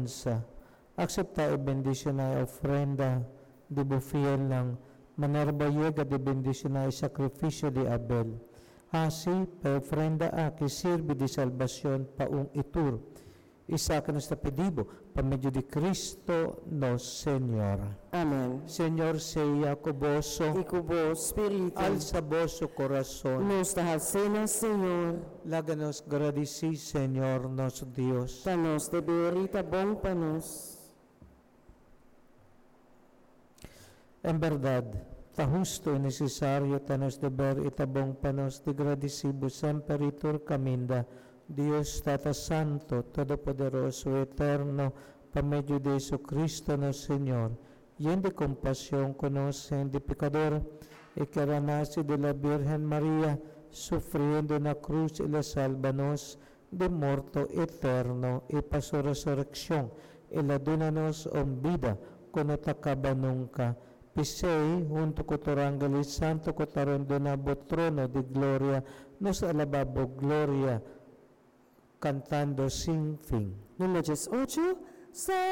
alabansa. Akseptá i bendishoná e ofrenda di bo fielnan, manera bo a yega di bendishoná e sakrifisio di Abel. Hasi pa e ofrenda aki sirbi di salbashon pa un i tur. Esaki nos ta pidi bo pa medio di Cristo nos Señor. Amèn. Señor sea ku boso. I ku bo spiritu. Alsa boso kurason. Nos ta hals'é na Señor. Laga nos gradisí Señor nos Dios. Ta nos deber i ta bon pa nos. En bèrdat, ta hustu i nesesario, ta nos deber i ta bon pa nos di gradisí bo semper i tur kaminda, Dios Tata Santo, Todopoderoso i Eterno, pa medio di Jesucristo nos Señor, yen di compasion cu nos hende pecador, e ker a naci di la Birgen Maria, sufriendo na cruz el a salba nos di morto eterno i pa su resureccion el a duna nos un bida cu no ta caba nunca. P'esey, hunto cu tur angel i santo cu ta rondona bo trono di gloria, nos alaba bo gloria, cantando sin fin. Number 18.